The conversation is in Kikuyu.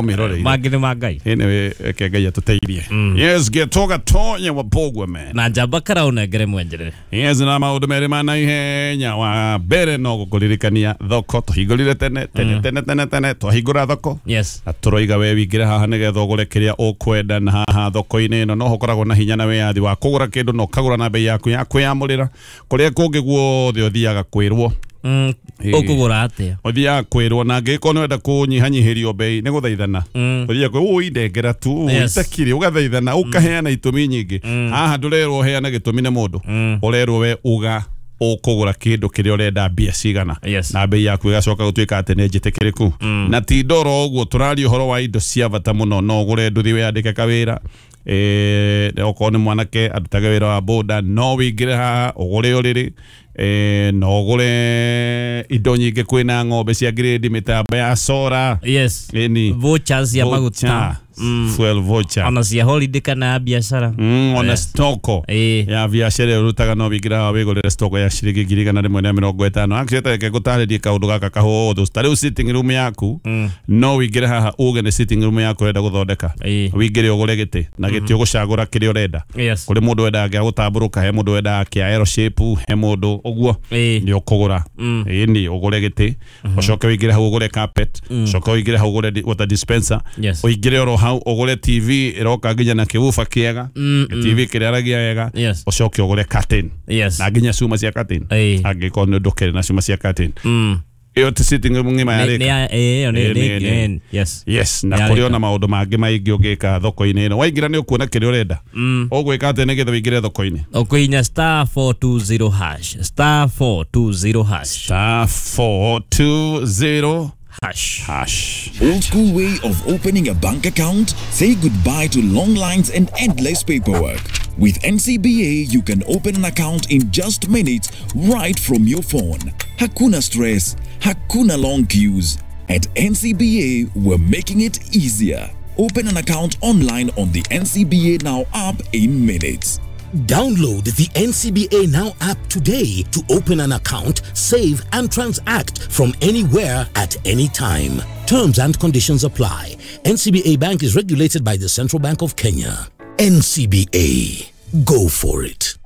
Ũmĩroreire. Mangĩ nĩ ma Ngai. Anyway, reke Ngai atũteithie. Yes, getoga tonya wa Bogwe man. Na njamba kara ũnengere mwenjerere. Yes, na maũndũ merĩ ma naihenya. Wa mbere no gũkũririkania thoko tũhingũrire tene tene tene tene tene twahingũra thoko. Yes. Na tũroiga we wingĩre haha nĩgetha ũgũre kĩrĩa ũkwenda, na haha thoko-inĩ ĩno no ũkoragwo na hinya na wĩyathi wa kũgũra kĩndũ na ũkagũra na bei yaku ya kwĩyamũrĩra. Kũrĩa kũngĩ guothe ũthiaga kwĩrwo. Ũkũgũra atĩa? Ũthiaga kwĩrwo, na angĩkorwo nĩ wenda kũnyihanyihĩrio bei nĩ gũthaithana. Ũthiaga kwĩ ũi ndengera tu, Yes. itakirĩ, ũgathaithana, ũkaheana itũmi nyingĩ. Haha ndũrerwo ũheane gĩtũmi nĩ mũndũ. Ũrerwo we uga ũkũgũra kĩndũ kĩrĩa ũrenda mbia cigana. Yes. Na bei yaku ĩgacoka gũtuĩka atĩ nĩ njĩtĩkĩrĩku. Na ti ndoro ũguo, tũraria ũhoro wa indo cia bata mũno. No ũgũre nduthi wĩyandĩke kawĩra. Okorwo nĩ mwanake arutage wĩra wa boda, no wĩingĩre haha ũgũre ũrĩrĩ, no ũgũre indo nyingĩ. Kwĩna ng'ombe cia grade, mĩtambo ya sora. Yes. Ĩni. Vouchers cia maguta. Fuel voucher. Ona cia holiday kana ya biacara. Ona Yes. stoko Ĩĩ. ya biacara ĩrĩa ũrutaga, no wĩingĩre haha wĩgũrĩre stoko ya ciringi 150,000. Actually reke ngũtarĩrie kaũndũ gaka kahũthũ. Ta rĩu sitting room yaku, no wĩingĩre haha uge nĩ sitting room yaku ũrenda gũthondeka. Ĩĩ. Wĩingĩre ũgũre gĩtĩ, na gĩtĩ ũgũcagũra kĩrĩa ũrenda. Yes. Kũrĩ mũndũ wendaga gĩa gũtambũrũka, he mũndũ wendaga kĩa L shape, he mũndũ ũguo. Ĩĩ. Nĩ ũkũgũra. Ĩni, ũgũre gĩtĩ, ũcoke wĩingĩre hau ũgũre carpet, ũcoke ũingĩre hau ũgũre water dispenser, Yes. ũingĩre oro hau ũgũre TV ĩroka nginya na kĩbuba kĩega, TV kĩrĩa aragia wega. Yes. Ũcoke ũgũre curtain. Yes. Na nginya cuma cia curtain. Ĩĩ. Angĩkorwo nĩ ndũkĩrĩ na cuma cia curtain. Ĩyo ti sitting room ng'ima Nĩ yarĩka. ĩyo Ĩĩ, nĩ. yes. Yes, na Yarĩka. kũrĩ ona maũndũ mangĩ maingĩ ũngĩka thoko-inĩ ĩno. Waingĩra nĩ ũkuona kĩrĩa ũrenda. Ũgwĩka atĩa nĩgetha ũingĩre thoko-inĩ? Ũkũhinya star 420 hash, star 420 hash. Star 420 hash. Hash. Old school way of opening a bank account? Say goodbye to long lines and endless paperwork. With NCBA, you can open an account in just minutes right from your phone. Hakuna stress, hakuna long queues. At NCBA, we're making it easier. Open an account online on the NCBA Now app in minutes. Download the NCBA Now app today to open an account, save, and transact from anywhere at any time. Terms and conditions apply. NCBA Bank is regulated by the Central Bank of Kenya. NCBA. Go for it.